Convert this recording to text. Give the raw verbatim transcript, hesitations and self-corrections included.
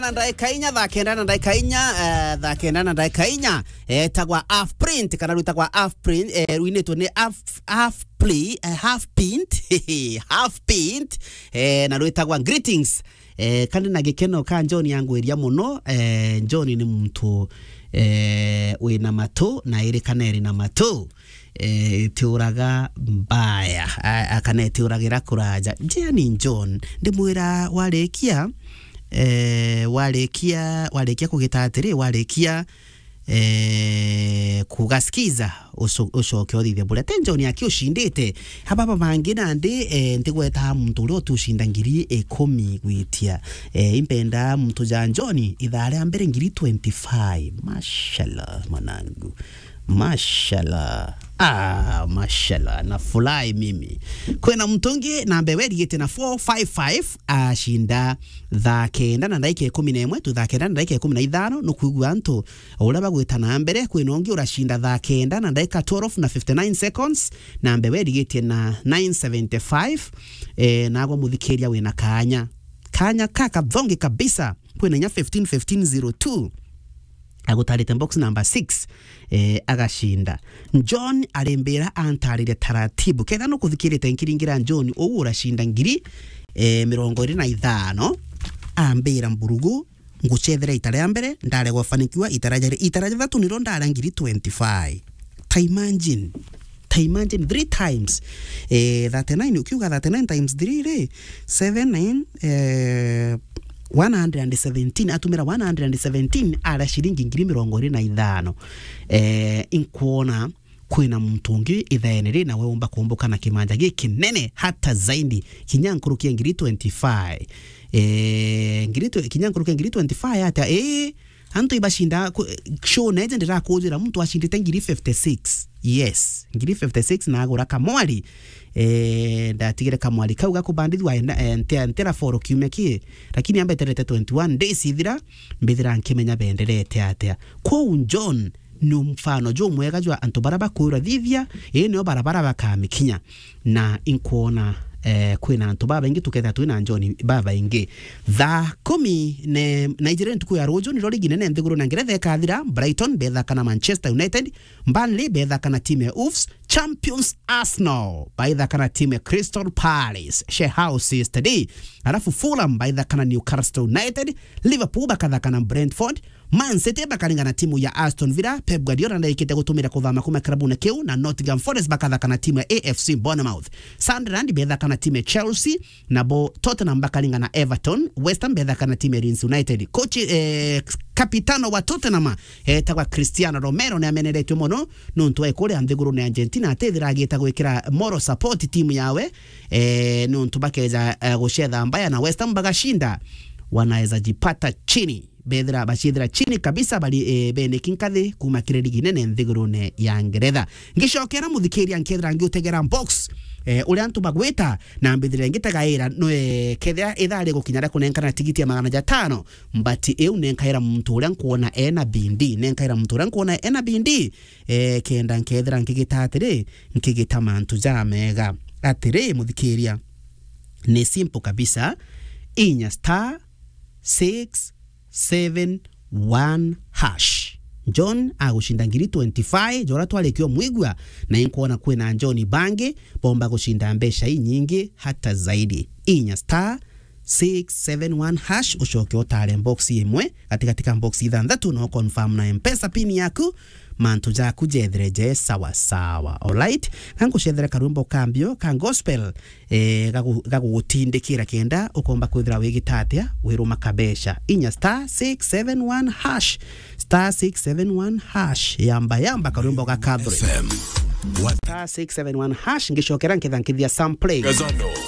Na ndaika inya, thaa kenda na ndaika inya, eh, thaa kenda na ndaika inya, eh, etagwa Half Print, kana rwitagwa Half Print, eh, rwinitwe ni Half, Half Play, eh, Half Pint, Half Pint, eh, na rwitagwa Greetings. Eh, kandi na gikeno ka John yangwiria muno, eh, John ni muntu, eh, wina matu, na iri kana iri na matu, eh, itiuraga mbaya, a-, a-, kana itiuragira kuraja. Njia ni John, ndimwira warikia, eh, warikia, warikia kugita atiri, warikia, eh, kuga skiza, ucu-, ucoke uthithe buria. Te John aki ucindite. Ababa bangi nandi, eh, ntigweta muntu uria uti ucinda ngiri ikumi gwitia. Eh, impenda muntu ja John, ithaa ria mbere ngiri twenty-five. Mashallah, mwanangu. Mashallah. Ah, mashallah. Na fly mimi. Kwina muntu ungi namba erigite na four five five, acinda thaa kenda na ndaika ikumi na imwe tu thaa kenda na ndaika ikumi na ithano, nukwigua antu uria bagwita na mbere. Kwina ungi uracinda thaa kenda na ndaika twelve na fifty-nine seconds, namba erigite na nine seventy-five. Eh, nagwa muthikiria wina kanya. Kanya ka kathongi kabisa. Kwina inya fifteen fifteen zero two. Agutarite box number six, eh, agacinda. John arimbira antaririe taratibu. Ketha nukuthikirite nkiringira John, uu uracinda ngiri, eh, mirongo iri na ithano, ambira mburugu, ngucethera ita ria mbere, ndaregwa fanikiwa ita ria jeri, ita ria jathatu niro ndara ngiri twenty-five. Ta imagine. Ta imagine three times. Eh, thirty-nine, ukiuga thirty-nine times three ri, seven, nine, eh, one hundred and seventeen, atumira one hundred and seventeen, ara ciringi ngiri mirongo iri na ithano. Eh, inkwona kwina muntu ungi ithaene ri, nawe umba kumbuka na kimanja gikinene hata zaidi, kinya nkuruki ya ngiri twenty-five. Eh, ngiri twe-, kinya nkuruki ya ngiri twenty-five atia, eh, Antu ibacinda ku-, show neje ndirakujira muntu acindite ngiri fifty-six. Yes, ngiri fifty-six na agura kamwari. Eh, ndatigire kamwari kau gakubandithwa enda, eh, ntia-, ntira foro kiumia ki, lakini ambeterete twenty-one days ithira, mbithira nkimenya benderete atia. Kwou John ni mfano jumwega jwa antu bara bakwirwa thithia, ii nio barabara bakamikinya. Na inkwona, eh, kwina antu babaingi, tukethira twina John babaingi. Thaa kumi ne-, na ijiri ntuku ya ruju, niro ligi nene nthiguru na Ngeretha ikathira. Brighton bethaka na Manchester United, Burnley bethaka na timu ya Wolves, champions Arsenal baithaka na timu ya Crystal Palace, Sheffield City, alafu Fulham baithaka na Newcastle United, Liverpool bakathaka na Brentford, Man City bakaringana na timu ya Aston Villa. Pep Guardiola ndaikite gutumira kuthama kuma kirabune kiu, na Nottingham Forest bakathaka na timu ya A F C Bournemouth. Sunderland bethaka na timu ya Chelsea, nabo Tottenham bakaringana na Everton. West Ham bethaka na timu ya Leeds United. Coach, eh, kapitano wa Tottenham etagwa Cristiano Romero ni ameneretwe mono nontu wa kuria nthigurune ya Argentina atithira agita gwikira moral support timu yawe, eh, nontu bakeja, eh, gucetha mbaya na West Ham bagacinda, wanaweza jipata chini. Bethira baciethira chini kabisa bari, eh, beneki nkathi kuma kiri ligi nene nthigurune ya Ngeretha. Ngicokera muthikiria nkethira ngiutegera box, eh, uria antu bagwita na mbithire ngitegaira no, eh, kethira ithaa rigukinya ria kunenkana tigiti ya magana jatano, mbati iu nenkaira muntu uria nkwona ena bindi, nenkaira muntu uria nkwona ena bindi, eh, kenda nkethira nkigita atiri, nkigita mantu jamega. Atiri, muthikiria, ni simple kabisa, inya star six seven one hash. John agucinda ngiri twenty-five, jora twarikia umwigua, na inkwona kwina John bangi bomba gucinda mbeca inyingi hata zaidi. Inya star six seven one hash, ucoke utare box imwe gatigati ka box ithanthatu, na uconfirm na M-Pesa pin yaku, mantu jaku jethire je sawa sawa. Alright? Kangucethere karwimbo ka mbio ka gospel, eh, gagu-, gagugutindikira kenda ukomba kwithira wigita atia, wiruma kabeca. Inya star six seven one hash, star six seven one hash, yamba, yamba karwimbo ga Catherine. F M. What? Star six seven one hash, ngicokera nketha nkithia sample. Gazano.